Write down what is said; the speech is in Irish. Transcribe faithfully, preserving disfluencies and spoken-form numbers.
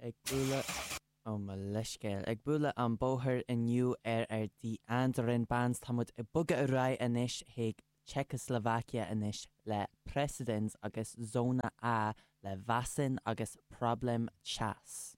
Ag bualadh ó mo leithscéal ag bualadh an bóthar inniu ar ar The Andarin Bands táimid ag bogadh ar aghaidh anois chuig Czechoslovakia anois le Precedens agus Zóna A le Vasin agus Problém Čas.